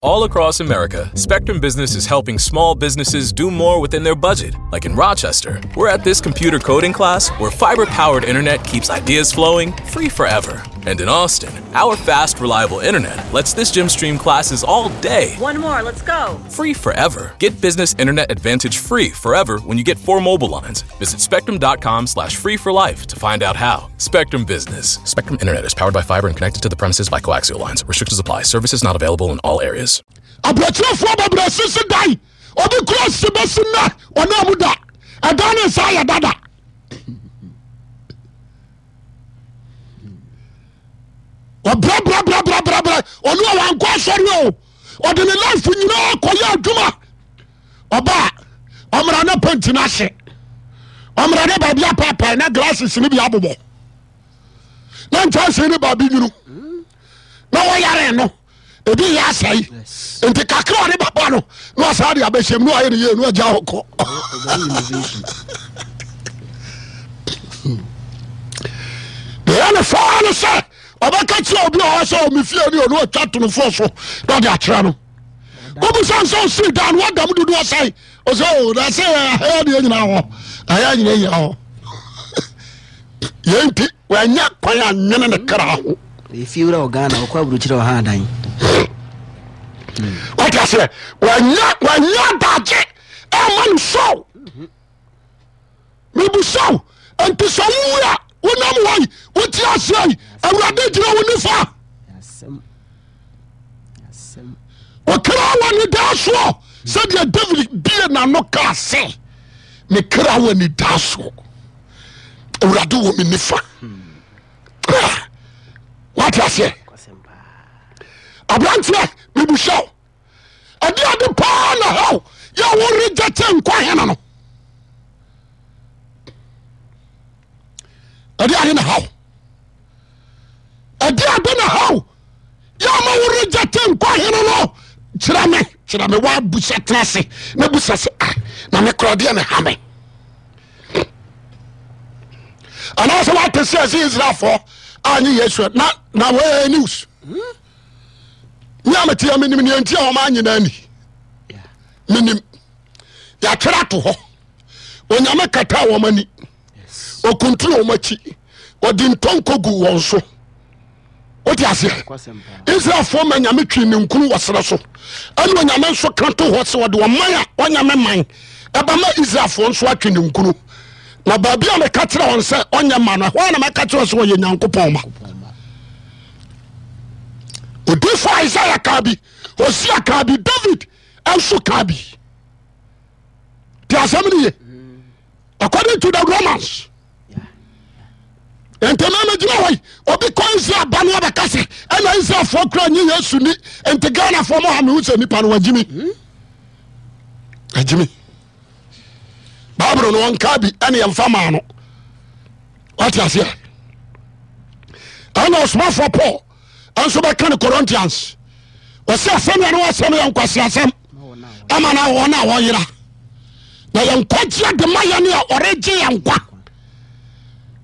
All across America, Spectrum Business is helping small businesses do more within their budget. Like in Rochester, we're at this computer coding class where fiber powered internet keeps ideas flowing free forever. And in Austin, our fast, reliable internet lets this gym stream classes all day. One more, let's go. Free forever. Get business internet advantage free forever when you get four mobile lines. Visit spectrum.com slash free for life to find out how. Spectrum Business. Spectrum Internet is powered by fiber and connected to the premises by coaxial lines. Restrictions apply. Services not available in all areas. Aburokyerɛfoɔ bebree sisi dan obi kura si bɛsi nnɛ ɔne mu da ɛdan ne nsa yɛ dada ɔbrɛbrɛbrɛbrɛbrɛ ɔno a wankɔ asɔre o ɔde ne life nyinaa kɔyɛ adwuma ɔba a ɔmmra ne penti no ahye ɔmmra ne baabi apaapae na glasses no bi abobɔ na nkyɛnse no baabi nwunu na wɔyare no ebi yɛ asɛe nti kakra ɔde baba no na ɔsaa de abɛhyɛm na ɔayɛ ne yie na ɔgya hɔ kɔ deɛ ne faa no sɛ ɔbɛka kyerɛ obi a ɔwɔ sɛ ɔmefie ne ɔne ɔtwa tonofoɔ so na ɔde akyerɛ no wobisa sɛ ɔsii dan no wadam dodoɔ sɛe ɔsɛ o na sɛ ɛyɛ deɛ nyina hɔ ɛyɛ nyina nyina hɔ yɛn nti wanya kwan anwene ne kra ho ɛfie wura wɔ Ghana ɔkɔ aburokyerɛ ɔha adan wate aseɛ wanya wanya adagye ɛma no so mebusaw nti sɛ wowu a wonam hɔ yi wote aseɛ yi awurade gyina wo nifa ɔkra wɔ ne daa soɔ sɛdeɛ David bie n'ano kaa sɛ me kra wɔ ne daa soɔ awurade wɔ me nifa wate aseɛ aberanteɛ mebusaw ɛde ade paa na hell yɛ wo reject nkwa hene no ɛde ade na hell ɛde ade na hell yɛ ma wo reject nkwa hene no kyerɛ me kyerɛ me wa busa tena ase na busa sɛ ah na me kora deɛ na ha me anaasɛ wate sɛ ɛsɛ Israelfoɔ anyɛ Yesu na na wɔyɛ news hmm? Me a mete a menim nea nti a wɔn anyina ani menim yɛatwerɛ ato hɔ onyame kata wɔn ani ɔkuntunu wɔn akyi ɔde ntonko gu wɔn so wote aseɛ israelfoɔ ma nyame twi ne nkunu wɔ serɛ so ɛne onyame nso ka to hɔ sɛ ɔde ɔman a ɔnyame man ɛbɛma israelfoɔ nso atwe ne nkunu na baabi a meka kyerɛ wɔn sɛ ɔnyɛ ma no ɛhɔ a na mɛka kyerɛ sɛ ɔyɛ nyankopɔn ma odifo Isaiah kaa bi Hosea kaa bi David nso kaa bi te asɛm no ye according to the Romans nti mɛmɛ gyina hɔ yi obi kɔ Israel ba no abɛka sɛ ɛna Israelfoɔ kura nye Yesu ni nti Ghanafoɔ mo ha mehu sɛ nipa no wagyimi agyimi Bible no wɔnka bi ɛne yɛmfa maa no wate aseɛ ɛna ɔsomafoɔ Paul nso bɛka no Corinthians ɔsɛ asɛm yɛ ne wasɛm yɛ nkwasi asɛm ama na wɔn a wɔyera na yɛn nkwagyeɛ de ma yɛn a ɔregye yɛn nkwa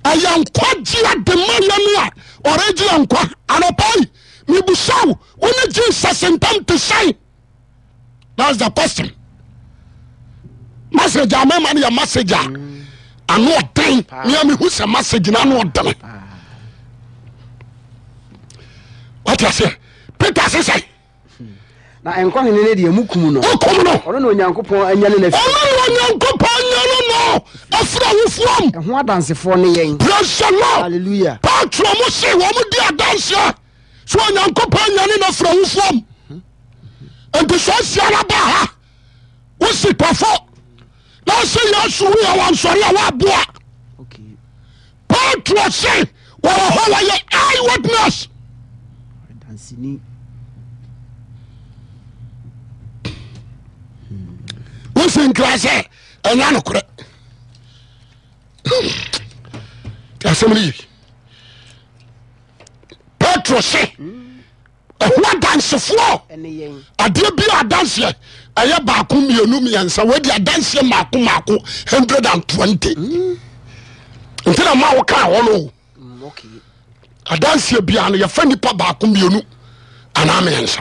ɛyɛ nkwagyeɛ de ma yɛn a ɔregye yɛn nkwa anɔpa yi mebusaw wo ne Jesus ntam te sɛn that's the question message a mɛma no yɛ message a ano ɔden nea mehu sɛ message no ano ɔdene wate aseɛ Peter se sɛ na nkwa hene no deɛ mukum no wokum no ɔno na Onyankopɔn anyane no ɔno na Onyankopɔn anyane no afiri awufoɔ mu ɛho adansefoɔ ne yɛn praise the Lord hallelujah Petro mo se wɔn di adanseɛ so Onyankopɔn anyane no afiri awufoɔ mu nti sɛ ɔsia no ba ha wosi tɔfo na ɔsɛ Yesu wuyɛ wansɔre a woaboa Petro se wɔwɔ hɔ wɔyɛ eye witness wosi nkira sɛ ɛnyɛ nokorɛ asɛm no ye Petro se ɛho adansefoɔ adeɛ bi a adanseɛ ɛyɛ baako mmienu mmiɛnsa wadi adanseɛ mako mako 120 hmm. nti na ma woka hɔ no mm, adanseɛ biara no yɛfa nipa baako mmienu anaa mmiɛnsa